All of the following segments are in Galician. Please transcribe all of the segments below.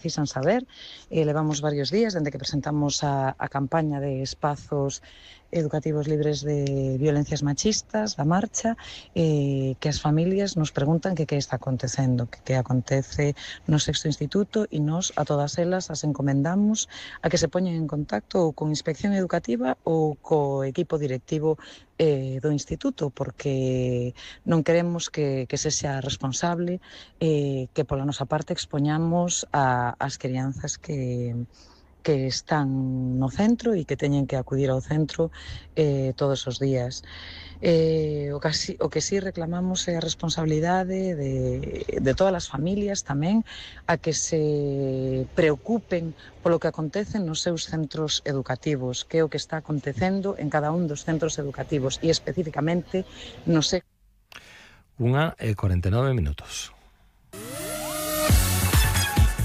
precisan saber. Levamos varios días dende que presentamos a campaña de espazos educativos libres de violencias machistas, da marcha, que as familias nos preguntan que está acontecendo, que acontece no sexto instituto, e nos a todas elas as encomendamos a que se poñen en contacto ou con Inspección Educativa ou co equipo directivo do instituto, porque non queremos que sexa responsable que pola nosa parte expoñamos as crianzas que están no centro e que teñen que acudir ao centro todos os días. O que sí reclamamos é a responsabilidade de todas as familias tamén, a que se preocupen polo que acontece nos seus centros educativos, que é o que está acontecendo en cada un dos centros educativos e especificamente no sé. 1:49.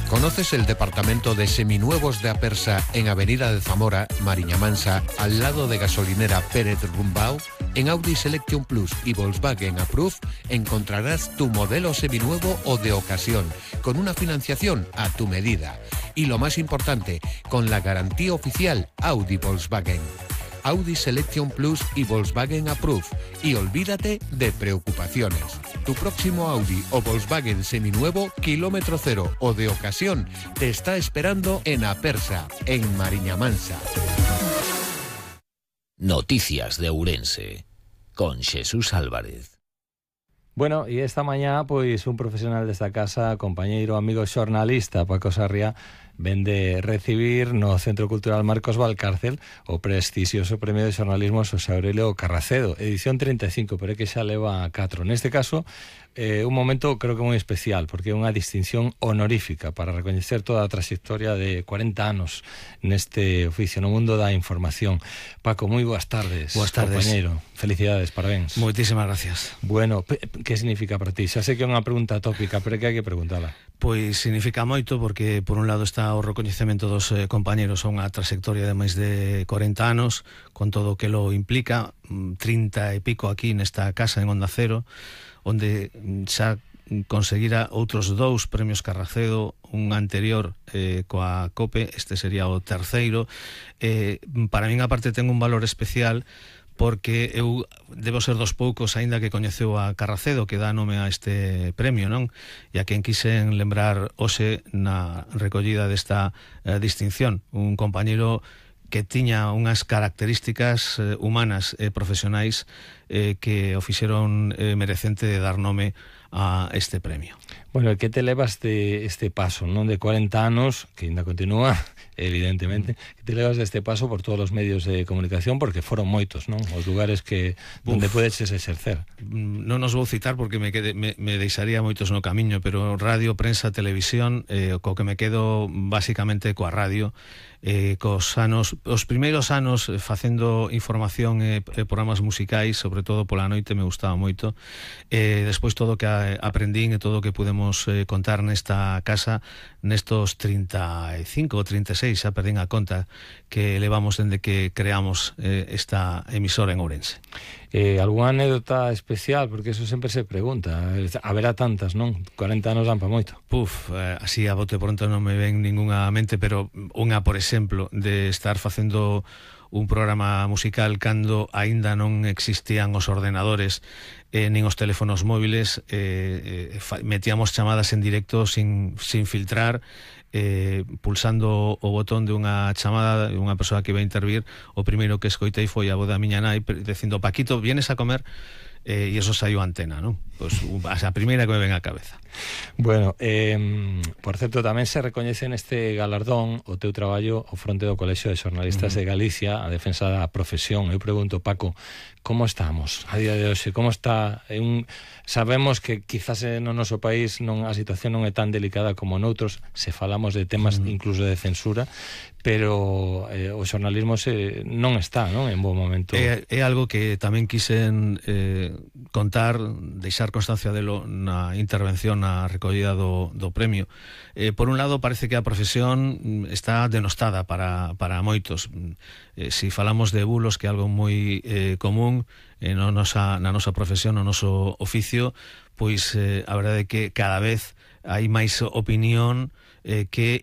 ¿Conoces el departamento de seminuevos de Apersa en Avenida de Zamora, Mariña Mansa, al lado de gasolinera Pérez Rumbao? En Audi Selection Plus y Volkswagen Approve encontrarás tu modelo seminuevo o de ocasión, con una financiación a tu medida. Y lo más importante, con la garantía oficial Audi Volkswagen. Audi Selection Plus y Volkswagen Approve. Y olvídate de preocupaciones. Tu próximo Audi o Volkswagen seminuevo, kilómetro cero o de ocasión, te está esperando en Apersa, en Mariña Mansa. Noticias de Ourense, con Jesús Álvarez. Bueno, e esta mañá, pois, un profesional desta casa, compañeiro, amigo xornalista, Paco Sarria, vende recibir no Centro Cultural Marcos Valcárcel o prestixioso Premio de Xornalismo Xosé Aurelio Carracedo, edición 35, pero é que xa leva 4. Neste caso, un momento creo que moi especial, porque é unha distinción honorífica para recoñecer toda a trayectoria de 40 anos neste oficio, no mundo da información. Paco, moi boas tardes. Boas tardes. Compañeiro, felicidades, parabéns. Moitísimas gracias. Bueno, que significa para ti? Xa sei que é unha pregunta tópica, pero é que hai que preguntala. Pois significa moito porque por un lado está o recoñecemento dos compañeros a unha trayectoria de máis de 40 anos con todo o que lo implica, 30 e pico aquí nesta casa en Onda Cero, onde xa conseguira outros 2 premios Carracedo, un anterior coa COPE, este sería o terceiro. Para min aparte ten un valor especial porque eu debo ser dos poucos aínda que coñeceu a Carracedo que dá nome a este premio, non? E a quen quixen lembrar hoxe na recollida desta distinción, un compañeiro que tiña unhas características humanas e profesionais que o fixeron merecente de dar nome a este premio. Bueno, que te levas de este paso, non de 40 anos, que ainda continúa, evidentemente, que te levas deste paso por todos os medios de comunicación, porque foron moitos, non? Os lugares que onde podes exercer. Non os vou citar porque me deixaría moitos no camiño, pero radio, prensa, televisión, co que me quedo basicamente coa radio, os primeiros anos facendo información e programas musicais, sobre todo pola noite, me gustaba moito. Despois todo o que aprendín e todo o que pudemos contar nesta casa nestos 35 ou 36, xa perdín a conta, que levamos dende que creamos esta emisora en Ourense. Alguna anécdota especial? Porque eso sempre se pregunta. Haberá tantas, non? 40 anos dan pa moito. Así a bote pronto non me ven ninguna mente, pero unha, por exemplo, de estar facendo un programa musical cando aínda non existían os ordenadores nin os teléfonos móviles, metíamos chamadas en directo sin filtrar, pulsando o botón de unha chamada de unha persoa que iba a intervir. O primeiro que escoitei foi a voz da miña nai dicindo: Paquito, vienes a comer? E eso saiu a antena, non? Pois a primeira que me ven á cabeza. Bueno, por certo, tamén se recoñece neste galardón o teu traballo ao fronte do Colexio de Xornalistas de Galicia, a defensa da profesión. Eu pregunto, Paco, como estamos a día de hoxe? Como está? Sabemos que quizás no noso país a situación non é tan delicada como noutros, se falamos de temas incluso de censura, pero o xornalismo non está, non, en bo momento. É algo que tamén quixen contar, deixar constancia delo na intervención na recollida do premio. Por un lado, parece que a profesión está denostada para moitos. Si falamos de bulos, que é algo moi común na nosa profesión, no noso oficio, pois a verdade é que cada vez hai máis opinión que